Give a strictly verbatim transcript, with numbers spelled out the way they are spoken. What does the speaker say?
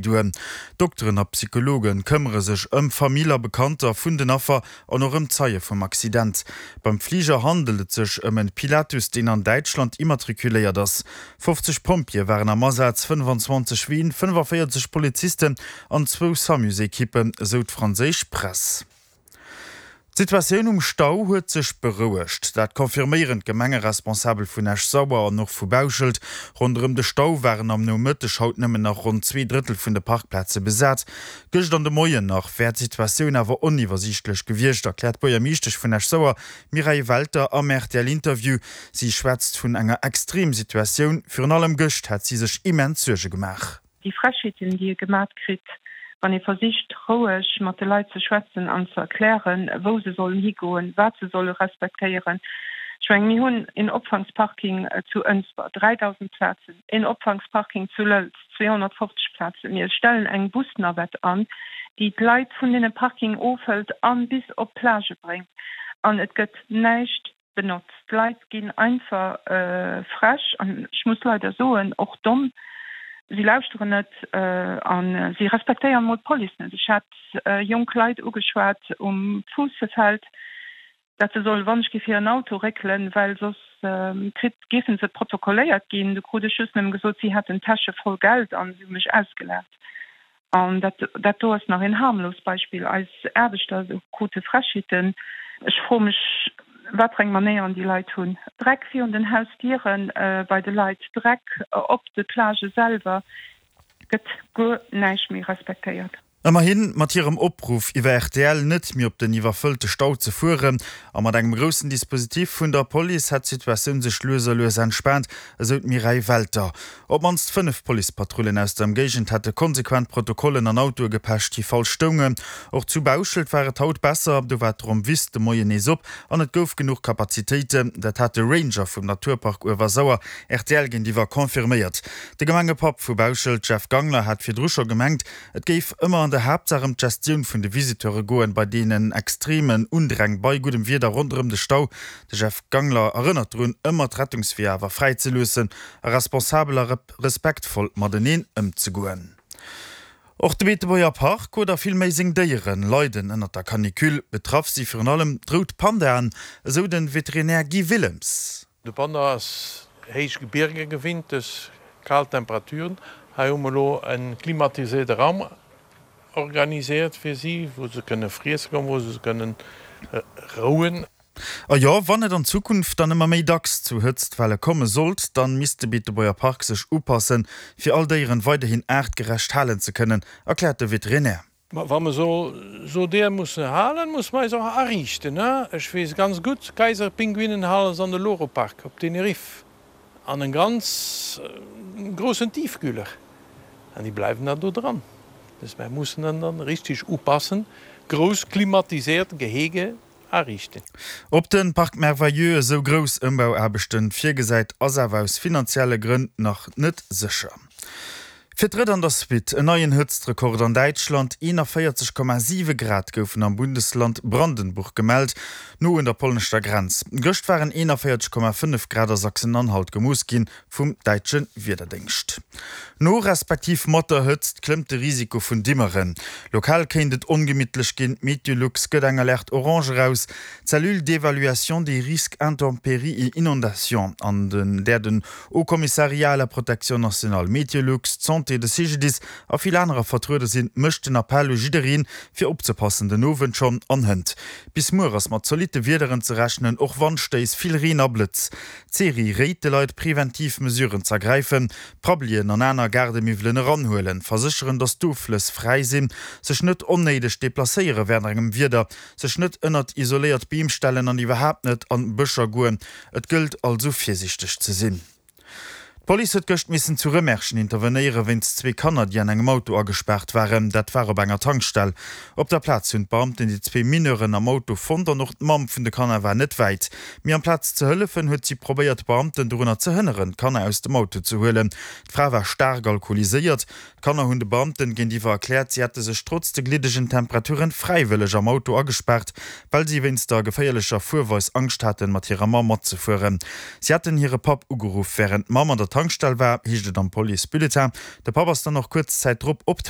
Duer. Dokteren a Psychologe këmmere sech ëm Famill a Bekannter vun den Affer an och ëm Zeie vum Accident. Beim Fliger handelt et sech ëm en Pilatus, deen an Däitschland immatrikuléiert ass. fofzeg Pompjeeë waren am Asaz, fënnfanzwanzeg Ween, fënnefaféierzeg Polizisten an zwou SAMUs-Ekippen, esou d'franséisch Press. D'Situatioun um Stau huet sech berouegt. Dat confirméieren d'Gemengeresponsabel vun Esch-Sauer an och vu Bauschelt. Ronderëm de Stau waren am Nomëtteg haut nëmmen nach ronn zwee Drëttel vun de Parkplaze besat. Gëscht an de Moien nach wär d'Situatioun awer oniwwersiichtlech gewiescht, erkläert d'Buergermeeschtesch vun Esch-Sauer, Mireille Welter, am R T L-Interview. Si schwätzt vun enger Extremsituatioun. Virun allem gëscht hätt si sech immens Suerge gemaach. Déi Frechheeten, déi ee gemat kritt, wann ee versicht, roueg mat de Leit ze schwätzen an ze erklären, wou se sollen higoen, wat se solle respektéieren. Ech mengen, mir hunn een Opfangsparking zu Ënsber, dräidausend Plazen, een Opfangsparking zu Lëlz, zweehonnertfofzeg Plazen. Mir stellen eng Busnavette an, déi d'Leit vun deene Parking ofhëlt a bis op d'Plage bréngt. An et gëtt näischt benotzt. D'Leit ginn einfach frech an, ech muss leider soen, och domm. Si lauschteren net a si respektéieren emol d'Police net. Ech hat jonk Leit ugeschwat um Fuussefeld, dat se sollen wann ech géif hiren Auto réckelen, well soss kritt, géife se protokolléiert ginn. Du krut ech just nëmme gesot, si hätten Täsche voll Geld an si hu mech ausgelaacht. An dat, dat do ass nach een harmlost Beispill. Eis Aarbechter krute Frechheeten. Ech froe mech, wat fir eng Manéieren déi Leit hunn. Dreck virun den Hausdiere bei de Leit, Dreck op de Plagë selwer, gëtt guer näischt méi respektéiert. Ëmmerhin, mat hirem Opruff iwwer R T L net méi op den iwwerfëllte Stau ze fueren a mat engem groussen Dispositif vun der Police hätt d'Situatioun sech lues a lues entspaant, esou d'Mireille Welter. Op d'mannst fënnef Policepatrullen aus der Ëmgéigend hätte konsequent Protokollen an Autoe gepecht, déi falsch stoungen. Och zu Bauschelt war et haut besser, do war d'Rommwiss de Moien nees op an et gouf genuch Kapazitéiten. Dat hat de Ranger vum Naturpark Uewersauer R T L géintiwwer confirméiert. De Gemengepapp vu Bauschelt, Jeff Gangler, hat virdru scho gemengt, et géif ëmmer an der Haaptsaach ëm d'Gestioun vun de Visiteure goen, bei deenen extremen Undräng bei guddem Wieder ronderëm de Stau. De Jeff Gangler erënnert drun, ëmmer d'Rettungsweeër awer fräi ze loossen a responsabel a respektvoll mateneen ëmzegoen. Och de Beetebuerger Park oder vill méi seng Déieren leiden ënnert der Canicule. Betraff si virun allem d'Rout Pandaen, esou de Veterinär Guy Willems. De Panda ass héich Gebierger gewinnt, dus kal Temperaturen. Hei hu mer elo e klimatiséierte Raum organiséiert fir si, wou se kënne friesse kommen, wou se kënnen rouen. A jo, wann et an Zukunft dann ëmmer méi dacks zu Hëtztwelle komme sollt, dann misst de Beetebuerger Park sech upassen, fir all Déieren weiderhin aartgerecht halen ze kënnen, erkläert de Veterinär. Wa mer sou sou Déier musse halen, musse mer eis och ariichten. Ech weess ganz gutt, Kaiserpinguinen hale se an de Loro Park op Tenerife an en ganz groussen Tiefkühler an déi bleiwen dann do dran. Dus mer mussen dann dann richteg upassen, grouss klimatiséiert Gehege ariichten. Ob de Parc Merveilleux esou grouss Ëmbauaarbechten virgesäit, ass awer aus finanzielle Grënn nach net sécher. Fir d'drëtt an der Suite en neien Hëtztrekord an Däitschland, eenanvéierzeg Komma siwe Grad goufen am Bundesland Brandenburg gemellt, no un der polnescher Grenz. Gëscht waren eenanvéierzeg Komma fënnef Grad a Sachsen-Anhalt gemooss ginn, vum däitsche Wiederdéngscht. No respektiv mat der Hëtzt klëmmt de Risiko vun Dimmeren. Lokal kéint et ongemittlech ginn, Meteolux gëtt eng Alerte orange eraus. D'Cellule d'évaluation des risques intempéries et inondations, an där den Haut Commissariat à la protection nationale, Meteolux, d'Santé, de C G D I S a vill anerer vertruede sinn, mécht den Appell u jiddereen, fir opzepassen, den Owend schonn an hënt. Bis muer ass mat zolitte Wiederen ze rechnen, och Wandstéiss, vill Reen a Blëtz. D'Ceri réit de Leit, preventiv Mesuren z'ergräifen, Prabbelien an aner Gaardemiwwelen eranhuelen, versécheren, datt d'Offlëss fräi sinn, sech net onnéideg deplacéiere wärend engem Wieder, sech net ënnert isoléiert Beem stellen an iwwerhaapt net an Bëscher goen. Et gëllt also virsiichteg ze sinn. D'Police huet gëscht missen zu Rëmerschen intervenéiere wéinst zwee Kanner, déi an engem Auto agespaart waren. Dat war op enger Tankstell. Op der Plaz hunn d'Beamten déi zwee Mineuren am Auto fonnt an och d'Mamm vun de Kanner war net wäit. Mee amplaz ze hëllefen, huet si probéiert, d'Beamten dorunner ze hënneren, d'Kanner aus dem Auto ze huelen. D'Fra war staark alkoholiséiert. D'Kanner hunn de Beamten géintiwwer erkläert, si hätte sech trotz de gliddegen Temperaturen fräiwëlleg am Auto agespaart, well si wéinst der geféierlecher Fuerweis Angscht haten, mat hirer Mamm matzefueren. Si hätten hire Papp ugeruff, wärend d'Mamm an der Tankstell war, heescht et am Police-Bulletin. De Papp ass dann och kuerz Zäit drop op